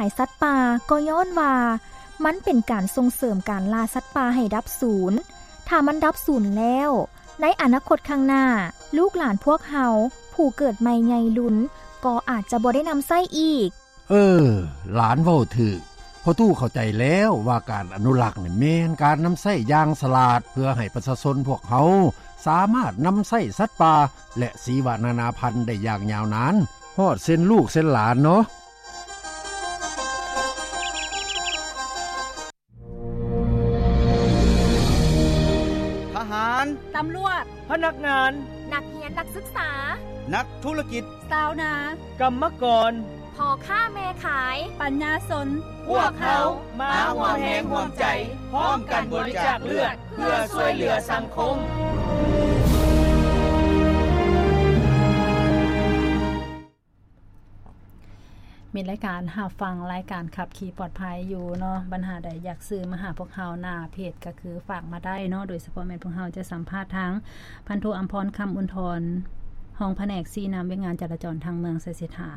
າຍສັດປ່າ ກໍຍ້ອນວ່າມັນເປັນການສົ່ງເສີມການລ່າສັດປ່າໃຫ້ດັບສູນ. ຖ້າມັນດັບສູນແລ້ວ, ໃນອະນາຄົດຂ້າງໜ້າ, ລູກຫຼານພວກເຮົາຜູ້ເກີດໃໝ່ໃຫຍ່ລຸນ ກໍອາດຈະບໍ່ໄດ້ນຳໃຊ້ອີກ. ເອີ, ຫຼານເວົ້າຖືກ. ພໍ່ຕູ້ເຂົ້າໃຈແລ້ວວ່າການອະນຸລັກນີ້ແມ່ນການນຳໃຊ້ຢ່າງສະຫຼາດ ເພື່ອໃຫ້ປະຊາຊົນພວກເຮົາສາມາດນຳໃຊ້ສັດປ່າ ແລະ ຊີວະນານາພັນໄດ້ຢ່າງຍາວນານ ຮອດເຊັ່ນລູກເຊັ່ນຫຼານເນາະ. ທະຫານ, ຕຳຫຼວດ, ພະນັກງານ, ນັກຮຽນນັກສຶກສາ, ນັກທຸລະກິດ, ຊາວນາ, ກຳມະກອນ, ພໍ່ຄ້າແມ່ຂາຍ, ປັນຍາຊົນ, ພວກເຮົາມາຮ່ວມແຮງຮ່ວມໃຈ ພ້ອມກັນບໍລິຈາກເລືອດ ເພື່ອຊ່ວຍເຫຼືອສັງຄົມ. ມິດລາຍການຮັບຟັງລາຍການຂັບຂີ່ປອດໄພຢູ່ເນາະ, ບັນຫາໃດຢາກສື່ມາຫາພວກເຮົາ ໜ້າເພຈກໍຄືຝາກມາໄດ້ເນາະ, ໂດຍສະເພາະແມ່ນພວກເຮົາຈະສຳພາດທາງພັນໂທ ອຳພອນ ຄຳອຸນທອນ ຮອງພະແນກຊີ້ນຳວຽກງານຈະລາຈອນທາງເມືອງໄຊເສດຖາ,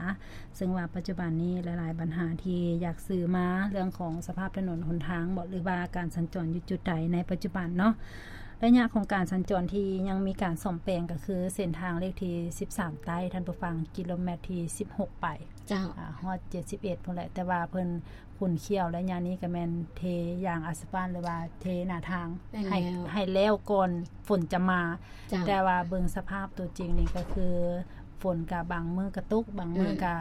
ເຊິ່ງວ່າປັດຈຸບັນນີ້ຫຼາຍໆບັນຫາທີ່ຢາກສື່ມາ ເລື່ອງຂອງສະພາບຖະໜົນຫົນທາງບໍ ຫຼືວ່າການສັນຈອນຢູ່ຈຸດໃດໃນປັດຈຸບັນເນາະ. ໄລຍະຂອງການສັນຈອນທີ່ຍັງມີການສ້ອມແປງກໍຄືເສັ້ນທາງເລກທີສິບສາມໃຕ້ ທ່ານຜູ້ຟັງ, ກິໂລແມັດທີສິບຫົກໄປ ເຈົ້າ ອາ ຮອດເຈັດສິບເອັດພຸ້ນແຫຼະ, ແຕ່ວ່າເພິ່ນຂຸ້ນຂ້ຽວໄລຍະນີ້ກໍແມ່ນເທຢາງອາສະປານ ຫຼືວ່າເທໜ້າທາງ ແມ່ນແລ້ວ ໃຫ້ ໃຫ້ແລ້ວກ່ອນຝົນຈະມາ. ເຈົ້າ ແຕ່ວ່າເບິ່ງສະພາບຕົວຈິງນີ້ກໍຄື ຝົນກະບາງມື້ກະຕົກ ບາງມື້ ອືມ ກະ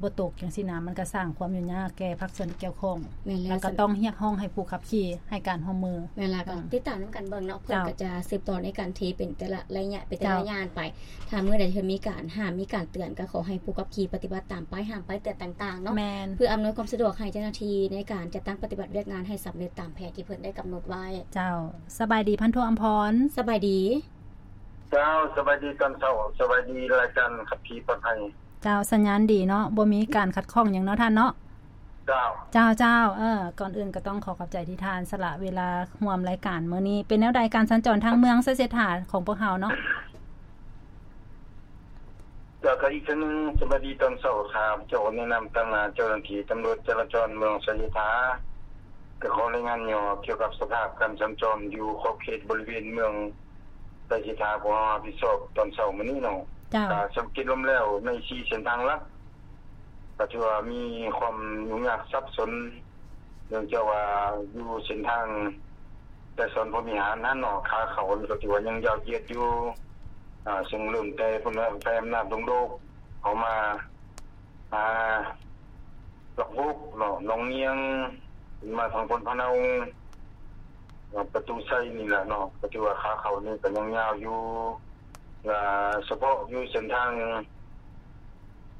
ບໍ່ຕົກ ຈັ່ງຊີ້ນະ, ມັນກະສ້າງຄວາມຫຍຸ້ງຍາກແກ່ພາກສ່ວນທີ່ກ່ຽວຂ້ອງ. ແມ່ນແລ້ວ ແລ້ວກະຕ້ອງຮຽກຮ້ອງໃຫ້ຜູ້ຂັບຂີ່ໃຫ້ການຮ່ວມມື. ແມ່ນແລ້ວ ກໍ ເຈົ້າ ຕິດຕາມນຳກັນເບິ່ງເນາະ, ເພິ່ນ ເຈົ້າ ກໍຈະສືບຕໍ່ໃນການເທເປັນແຕ່ລະໄລຍະ ເປັນແຕ່ລະ ເຈົ້າ ຢ່າງໄປ. ຖ້າມື້ໃດທີ່ເພິ່ນມີການຫ້າມ ມີການເຕືອນ ກໍຂໍໃຫ້ຜູ້ຂັບຂີ່ປະຕິບັດຕາມປ້າຍຫ້າມ ປ້າຍເຕືອນຕ່າງໆເນາະ. ແມ່ນ ເພື່ອອຳນວຍຄວາມສະດວກໃຫ້ເຈົ້າໜ້າທີ່ໃນການຈັດຕັ້ງປະຕິບັດວຽກງານໃຫ້ສຳເລັດຕາມແຜນທີ່ເພິ່ນໄດ້ກຳນົດໄວ້. ເຈົ້າ ສະບາຍດີ ພັນໂທ ອຳພອນ. ສະບາຍດີ. ເຈົ້າ ສະບາຍດີຕອນເຊົ້າ, ສະບາຍດີລາຍການຂັບຂີ່ປອດໄພ. ເຈົ້າ ສັນຍານດີເນາະ, ບໍ່ມີການຂັດຂ້ອງຫຍັງເນາະທ່ານເນາະ. ເຈົ້າ ເຈົ້າ ເຈົ້າ ເອີ ກ່ອນອື່ນກໍຕ້ອງຂໍຂອບໃຈທີ່ທ່ານສະຫຼະເວລາຮ່ວມລາຍການມື້ນີ້. ເປັນແນວໃດການສັນຈອນທາງເມືອງໄຊເສດຖາຂອງພວກເຮົາເນາະ? ເຈົ້າ ກໍອີກເທື່ອໜຶ່ງ ສະບາຍດີຕອນເຊົ້າ, ຂ້າພະເຈົ້າໃນນາມຕາງໜ້າເຈົ້າໜ້າທີ່ຕຳຫຼວດຈະລາຈອນເມືອງໄຊເສດຖາ ກໍຂໍລາຍງານຫຍໍ້ກ່ຽວກັບສະພາບການສັນຈອນຢູ່ຂອບເຂດບໍລິເວນເມືອງ ໄຊເສດຖາ ພວກເຮົາຮັບຜິດຊອບຕອນເຊົ້າມື້ນີ້ເນາະ. ເຈົ້າ ກໍສັງເກດລວມແລ້ວໃນສີ່ເສັ້ນທາງຫຼັກ ກໍຖືວ່າມີຄວາມຫຍຸ້ງຍາກສັບສົນ ເນື່ອງຈາກວ່າຢູ່ເສັ້ນທາງໄກສອນ ພົມວິຫານຫັ້ນເນາະ, ຂາເຂົ້ານີ້ກໍຖືວ່າຍັງຍາວຢຽດຢູ່ ອາ ເຊິ່ງເລີ່ມແຕ່ພຸ້ນແຫຼະ ໄຟອຳນາດດົງໂດກ ເຂົ້າມາ ອາ ຫຼັກຫົກເນາະ, ໜອງງຽງ ຂຶ້ນມາທາງໂພນພະເນົາ ປະຕູໄຊນີ້ແຫຼະເນາະ, ກໍຖືວ່າຂາເຂົ້ານີ້ກໍຍັງຍາວຢູ່ ລະສະເພາະຢູ່ເສັ້ນທາງ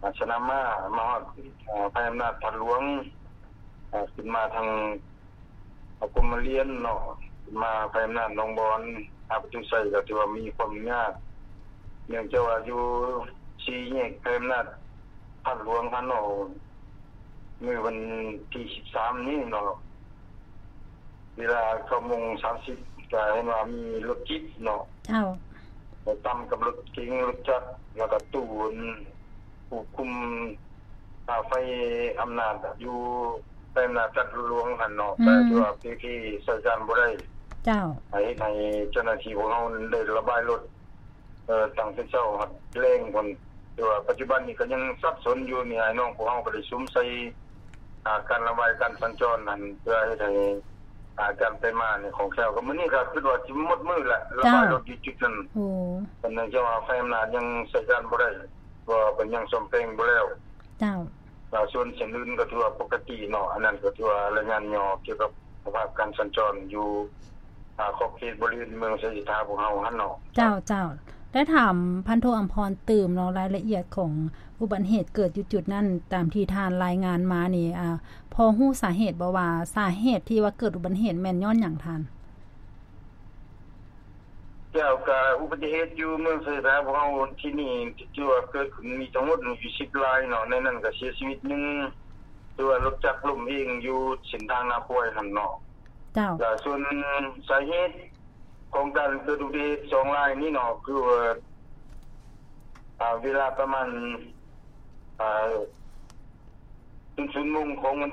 ອາ ສະໜາມມ້າ ມາຮອດ ອາ ໄຟອຳນາດທາດຫຼວງ ອາ ຂຶ້ນມາທາງ ອາ ກົມມະລຽນເນາະ, ຂຶ້ນມາໄຟອຳນາດໜອງບອນ ຫາປະຕູໄຊ ກໍຖືວ່າມີຄວາມຍາກ ເນື່ອງຈາກວ່າຢູ່ສີ່ແຍກໄຟອຳນາດທາດຫຼວງຫັ້ນເນາະ, ມື້ວັນທີສິບສາມນີ້ເນາະ ເວລາເກົ້າໂມງສາມສິບ ກໍເຫັນວ່າມີລົດຈິບເນາະ ເຈົ້າ ໄປຕຳກັບລົດເກັງ ລົດຈັກ ແລ້ວກໍຕູ້ ຄວບຄຸມ ອາ ໄຟອຳນາດຢູ່ ໄຟອຳນາດທາດຫຼວງຫັ້ນເນາະ ອືມ ກໍຖືວ່າເພເພໃຊ້ການບໍ່ໄດ້ ເຈົ້າ ເຮັດໃຫ້ເຈົ້າໜ້າທີ່ພວກເຮົາໄດ້ລະບາຍລົດ ເອີ ຕັ້ງແຕ່ເຊົ້າຮອດແລງພຸ້ນ. ແຕ່ວ່າປັດຈຸບັນນີ້ກໍຍັງສັບສົນຢູ່ນີ້, ອ້າຍນ້ອງພວກເຮົາກໍໄດ້ສຸມໃສ່ ອາ ການລະບາຍການສັນຈອນຫັ້ນ ເພື່ອເຮັດໃຫ້ ອາ ການໄປມານີ້ຄ່ອງແຄ້ວ. ກໍມື້ນີ້ກໍຄິດວ່າຊິໝົດມື້ແຫຼະ ລະບາຍລົດຢູ່ຈຸດນັ້ນ. ໂອ້ ເພາະເນື່ອງຈາກວ່າໄຟອຳນາດຍັງໃຊ້ການບໍ່ໄດ້ ເພາະວ່າເພິ່ນຍັງສ້ອມແປງບໍ່ແລ້ວ. ເຈົ້າ. ແລ້ວສ່ວນເສັ້ນອື່ນກໍຖືວ່າປົກກະຕິເນາະ, ອັນນັ້ນກໍຖືວ່າລາຍງານຫຍໍ້ກ່ຽວກັບສະພາບການສັນຈອນຢູ່ ອາ ຂອບເຂດບໍລິເວນເມືອງໄຊເສດຖາພວກເຮົາຫັ້ນເນາະ. ເຈົ້າ, ເຈົ້າ. ໄດ້ຖາມພັນໂທອຳພອນຕື່ມເນາະ, ລາຍລະອຽດຂອງອຸບັດເຫດເກີດຢູ່ຈຸດນັ້ນ ຕາມທີ່ທ່ານລາຍງານມານີ້ ອາ ພໍຮູ້ສາເຫດບໍ່ວ່າ ສາເຫດທີ່ວ່າເກີດອຸບັດເຫດແມ່ນຍ້ອນຫຍັງທ່ານ? ເຈົ້າ, ກະອຸບັດຕິເຫດຢູ່ເມືອງໄຊເສດຖາພວກເຮົາທີ່ນີ້ ທີ່ວ່າເກີດຂຶ້ນມີທັງໝົດຢູ່ສິບລາຍເນາະ, ໃນນັ້ນກະເສຍຊີວິດໜຶ່ງ ຄືວ່າລົດຈັກລົ້ມເອງຢູ່ເສັ້ນທາງນາຄວາຍຫັ້ນເນາະ. ເຈົ້າ. ລະສ່ວນສາເຫດຂອງການເກີດອຸບັດຕິເຫດສອງລາຍນີ້ເນາະ ຄືວ່າ ອາ ເວລາປະມານ ອາ ຕື່ນຊຸມມຸງຂອງວັນ